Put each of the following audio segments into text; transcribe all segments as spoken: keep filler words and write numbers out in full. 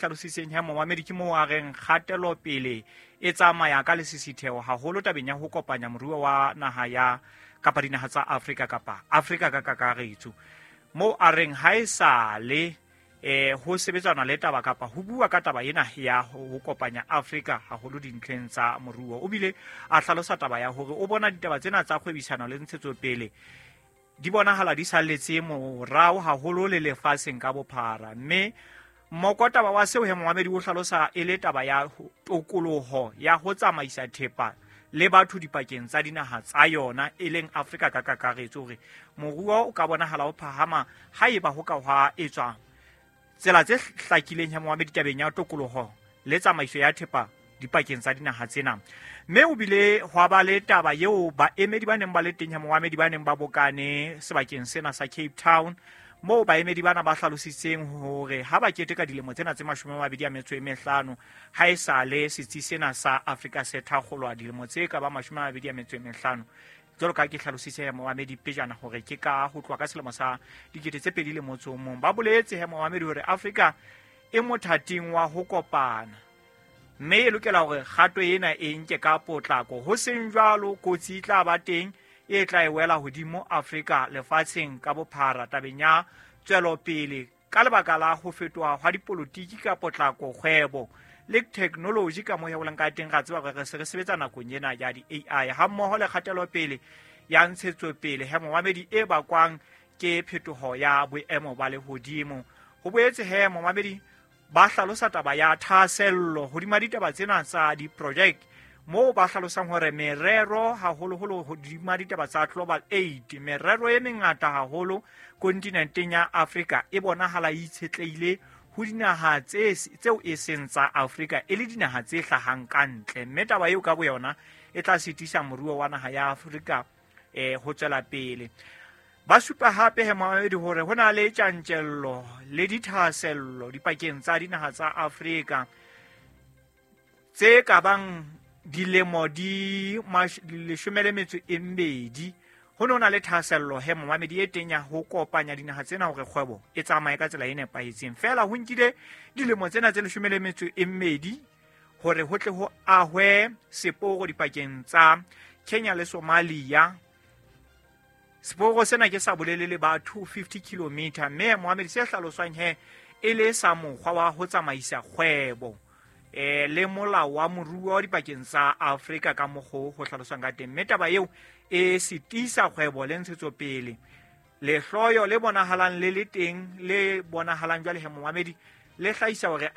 Hlalositseng ya momamedi ke moo a reng kgatelopele e tsamaya ka lesisitheho haholo tabeng ya ho kopanya moruo wa naha ya kapa dinaha tsa Afrika kapa Afrika ka kakaretso. Moo a reng ha e sale eh ho sebetsana le taba kapa ho bua ka taba ena ya ho kopanya Afrika haholo dintlheng tsa moruo. O bile a hlalosa taba ya hore o bona ditaba tsena tsa kgwebisano le ntshetsopele di bonahala di salletse morao haholo le lefatsheng ka bophara, mme mokotaba wa seo he momamedi o hlalosa e le taba ya tokoloho ya ho tsamaisa thepa le batho dipakeng tsa dinaha tsa yona e leng Afrika ka kakaretso, hore moruo o ka bonahala o phahama haeba ho ka hwa etswa tsela tse hlakileng ya momamedi tabeng ya tokoloho le tsamaiso ya thepa dipakeng tsa dinaha tsena. Mme o bile hwa ba le taba eo baemedi ba neng ba le teng ya momamedi ba neng ba bokane sebakeng sena sa Cape Town, moo baemedi bana ba hlalositseng hore ha ba keteka dilemo tsena tse mashome a mabedi a metso e mehlano ha e sale setsi sena sa Afrika se thakgolwa dilemo tse ka ba mashome a mabedi a metso e mehlano. Jwalo ka ke hlalositse ya momamedi pejana hore ke ka ho tloha ka selemo sa dikete tse pedi le motso o mong, ba boletse he momamedi hore Afrika e mothating wa ho kopana, mme e lokela hore kgato ena e nke ka potlako, ho seng jwalo kotsi e tla ba teng e tla e wela hodimo Afrika lefatsheng ka bophara tabeng ya tswelopele ka lebaka la ho fetoha hwa dipolotiki ka potlako, kgwebo le technology ka moo ho leng ka teng. Ra tseba hore re se re sebetsa nakong ena ya di-A I hammoho le kgatelopele ya ntshetsopele he momamedi e bakwang ke phetoho ya boemo ba lehodimo. Ho boetse he momamedi ba hlalosa taba ya thahasello hodima ditaba tsena tsa di-project, moo ba hlalosang hore merero haholoholo hodima ditaba tsa Global Aid, merero e mengata haholo kontinenteng ya Afrika e bonahala e itshetlehile ho dinaha tse tseo e seng tsa Afrika e le dinaha tse hlahang ka ntle, mme taba eo ka boyona e tla sitisa moruo wa naha ya Afrika eh ho tswela pele. Ba supa hape he momamedi hore ho na le tjantjello le dithahasello dipakeng tsa dinaha tsa Afrika tse ka bang dilemo di leshome le metso e mmedi. Ho no na le thahasello he momamedi e teng ya ho kopanya dinaha tsena hore kgwebo e tsamaye ka tsela e nepahetseng. Feela ho nkile dilemo tsena tse leshome le metso e mmedi hore ho tle ho ahwe seporo dipakeng tsa Kenya le Somalia. Seporo sena ke sa bolelele ba two fifty kilometer, mme momamedi se hlaloswang he e le sa mokgwa wa ho tsamaisa kgwebo eh le molao wa moruo dipakeng tsa Afrika ka mokgo ho hlaloswang ka teng, mme taba eo e sitisa kgwebo le ntshetsopele. Lehloyo le bonahalang le le teng le bonahalang jwale he momamedi le hlahisa hore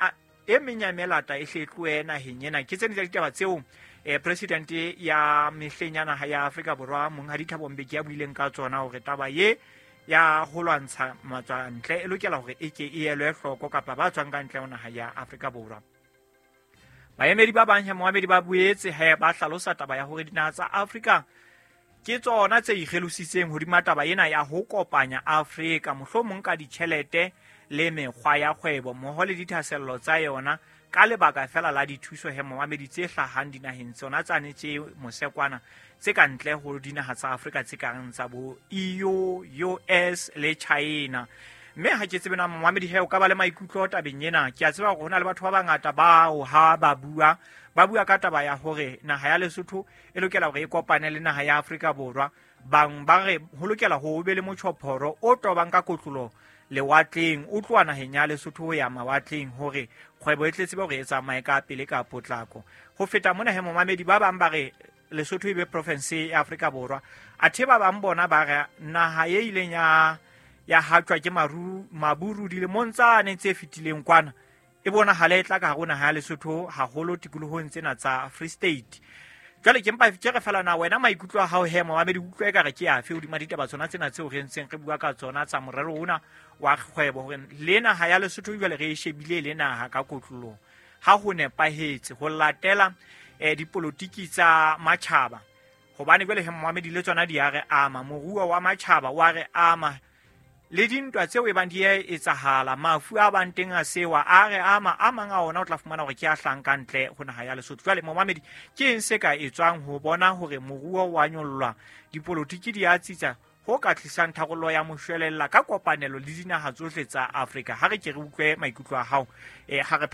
e meng ya melata e hletloe naheng ena. Ke tsena tsa ditaba tseo eh president ya mehleng ya naha ya Afrika Borwa Monghadi Thabo Mbeki a buileng ka tsona hore taba ye ya ho lwantsha matswantle e lokela hore e ke e elwe hloko kapa ba tswang ka ntle ho naha ya Afrika Borwa. Baemedi ba bang he momamedi ba boetse he ba hlalosa taba ya hore dinaha tsa Afrika ke tsona tse ikgelositseng hodima taba ena ya ho kopanya Afrika mohlomong ka ditjhelete le mekgwa ya kgwebo mmoho le dithahasello tsa yona ka lebaka fela la dithuso he momamedi tse hlahang dinaheng tsona tsane tse mosekwana tse ka ntle ho dinaha tsa Afrika tse kang tsa bo E U, U S le China. Mme ha ke tsebe na momamedi he o ka ba le maikutlo tabeng ena. Ke a tseba hore ho na le batho ba bangata bao ha ba bua ba bua ka taba ya hore naha ya Lesotho e lokela hore e kopane le naha ya Afrika Borwa. Bang ba re ho lokela ho be le motjhophoro o tobang ka kotlolo lewatleng o tloha naheng ya Lesotho ho ya mawatleng hore kgwebo e tle tsebe hore e tsamaye ka pele ka potlako. Ho feta mona he momamedi ba bang ba re Lesotho e be province ya Afrika Borwa, athe ba bang bona ba re naha e ileng ya ya hatjwa ke maru maburu dilemong tsane tse fetileng kwana e bonahala e tla ka hare ho naha ya Lesotho haholo tikolohong tsena tsa Free State. Jwale ke mpa ke re fela na wena maikutlo a hao he momamedi utlwe ekare ke afe hodima ditaba tsona tsena tseo re ntseng re bua ka tsona tsa morero ona wa kgwebo, hore le naha ya Lesotho jwale re e shebile le naha ka kotlolong ha ho nepahetse ho latela eh dipolotiki tsa matjhaba, hobane jwale he momamedi le tsona di a re ama, moruo wa matjhaba wa re ama, le dintwa tseo e bang di a etsahala, mafu a bang teng a sewa a re ama, a mang a ona o tla fumana hore ke a hlang ka ntle ho naha ya Lesotho. Jwale momamedi ke eng se ka etswang ho bona hore moruo wa nyollwa, dipolotiki di a tsitsa, ho ka tlisang tharollo ya moshwelella ka kopanelo le dinaha tsohle tsa Afrika. Ha re ke re utlwe maikutlo a hao, eh, ha re phetha.